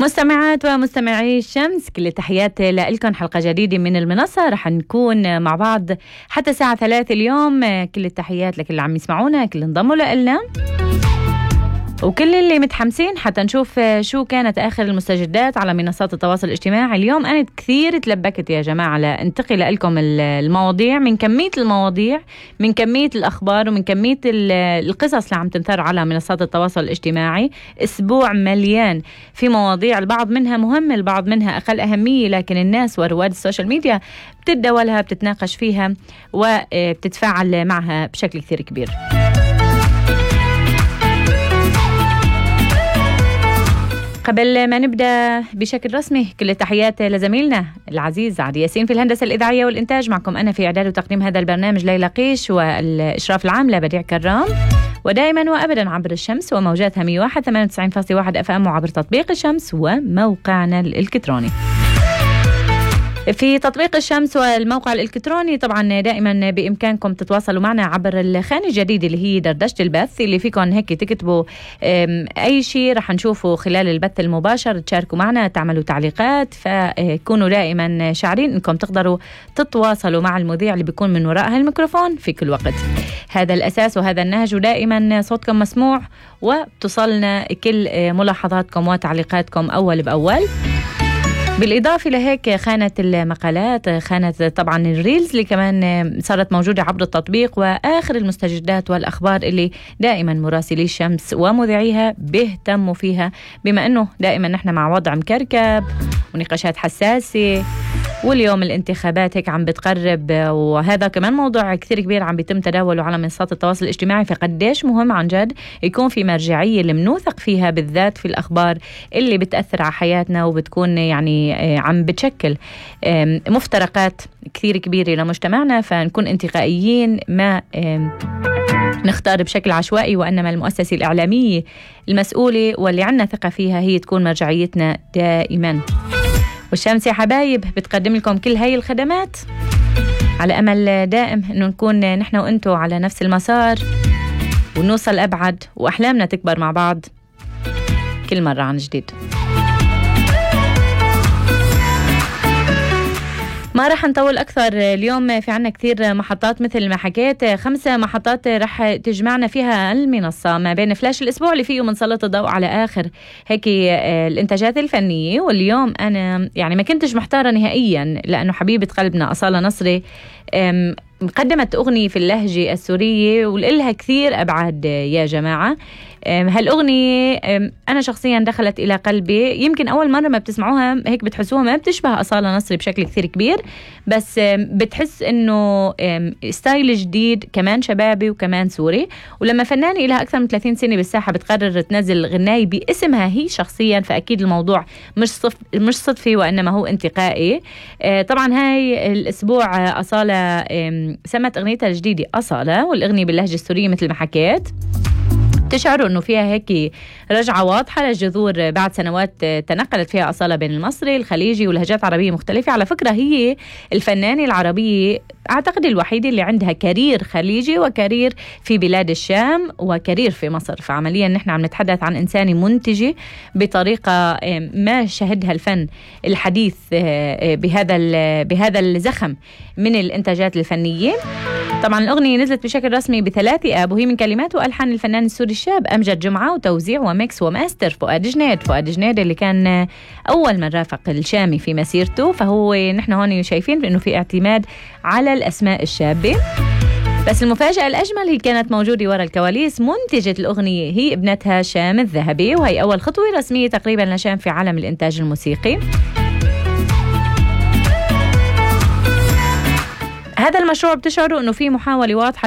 مستمعات ومستمعي الشمس، كل التحيات لكم. حلقة جديدة من المنصة رح نكون مع بعض حتى الساعة 3 اليوم. كل التحيات لكل اللي عم يسمعونا، كل انضموا لنا، وكل اللي متحمسين حتى نشوف شو كانت آخر المستجدات على منصات التواصل الاجتماعي. اليوم أنا كثير تلبكت يا جماعة لأنتقل لكم المواضيع، من كمية المواضيع، من كمية الأخبار، ومن كمية القصص اللي عم تنثر على منصات التواصل الاجتماعي. أسبوع مليان في مواضيع، البعض منها مهم، البعض منها أقل أهمية، لكن الناس ورواد السوشيال ميديا بتتداولها، بتتناقش فيها وبتتفاعل معها بشكل كثير كبير. قبل ما نبدأ بشكل رسمي، كل التحيات لزميلنا العزيز عادي ياسين في الهندسة الإذاعية والإنتاج. معكم أنا في إعداد وتقديم هذا البرنامج ليلى قيش، والإشراف العام لبديع كرام، ودائما وأبدا عبر الشمس وموجاتها 101.98.1 FM، وعبر تطبيق الشمس وموقعنا الإلكتروني. في تطبيق الشمس والموقع الإلكتروني طبعا دائما بإمكانكم تتواصلوا معنا عبر الخانة الجديدة اللي هي دردشة البث، اللي فيكم هيك تكتبوا أي شيء رح نشوفه خلال البث المباشر، تشاركوا معنا، تعملوا تعليقات، فكونوا دائما شاعرين إنكم تقدروا تتواصلوا مع المذيع اللي بيكون من وراء هالميكروفون في كل وقت. هذا الأساس وهذا النهج، ودائما صوتكم مسموع وبتصلنا كل ملاحظاتكم وتعليقاتكم أول بأول. بالإضافة لهيك خانة المقالات، خانة طبعا الريلز اللي كمان صارت موجودة عبر التطبيق، وآخر المستجدات والأخبار اللي دائما مراسلي الشمس ومذيعيها بيهتموا فيها، بما أنه دائما نحن مع وضع مكركب ونقاشات حساسة، واليوم الانتخابات هيك عم بتقرب، وهذا كمان موضوع كثير كبير عم بيتم تداوله على منصات التواصل الاجتماعي. فقديش مهم عن جد يكون في مرجعية اللي منوثق فيها، بالذات في الأخبار اللي بتأثر على حياتنا وبتكون يعني عم بتشكل مفترقات كثير كبيرة لمجتمعنا، فنكون انتقائيين، ما نختار بشكل عشوائي، وإنما المؤسسة الإعلامية المسؤولة واللي عنا ثقة فيها هي تكون مرجعيتنا دائما. والشمس يا حبايب بتقدم لكم كل هاي الخدمات على أمل دائم إنه نكون نحن وإنتو على نفس المسار، ونوصل أبعد، وأحلامنا تكبر مع بعض كل مرة عن جديد. ما رح نطول أكثر اليوم، في عنا كثير محطات مثل ما حكيت، 5 محطات رح تجمعنا فيها المنصة ما بين فلاش الأسبوع اللي فيه منسلط الضوء على آخر هيك الإنتاجات الفنية. واليوم أنا يعني ما كنتش محتارة نهائيا، لأنه حبيبة قلبنا أصالة نصري قدمت أغنية في اللهجة السورية ولإلها كثير أبعاد يا جماعة. هالأغنية أنا شخصيا دخلت إلى قلبي، يمكن أول مرة ما بتسمعوها هيك بتحسوها ما بتشبه أصالة نصري بشكل كثير كبير، بس بتحس إنه ستايل جديد، كمان شبابي وكمان سوري. ولما فنانة إلها أكثر من 30 سنة بالساحة بتقرر تنزل غناية باسمها هي شخصيا، فأكيد الموضوع مش صدفي، وإنما هو انتقائي. طبعا هاي الأسبوع أصالة سمت أغنيتها الجديدة أصالة، والأغنية باللهجة السورية مثل ما حكيت. تشعروا أنه فيها هيك رجعة واضحة للجذور بعد سنوات تنقلت فيها أصالة بين المصري، الخليجي ولهجات عربية مختلفة. على فكرة هي الفنانة العربية أعتقد الوحيدة اللي عندها كارير خليجي وكارير في بلاد الشام وكارير في مصر. فعمليا نحن عم نتحدث عن إنسانة منتجة بطريقة ما شهدها الفن الحديث بهذا الزخم من الإنتاجات الفنية. طبعا الأغنية نزلت بشكل رسمي ب3 آب، وهي من كلمات وألحان الفنان السوري الشاب أمجد جمعة، وتوزيع وميكس وماستر فؤاد جنيد اللي كان أول من رافق الشامي في مسيرته. فهو نحن هون شايفين بأنه في اعتماد على الأسماء الشابة. بس المفاجأة الأجمل هي كانت موجودة وراء الكواليس، منتجة الأغنية هي ابنتها شام الذهبي، وهي أول خطوة رسمية تقريبا لشام في عالم الإنتاج الموسيقي. هذا المشروع بتشعروا أنه في محاولة واضحة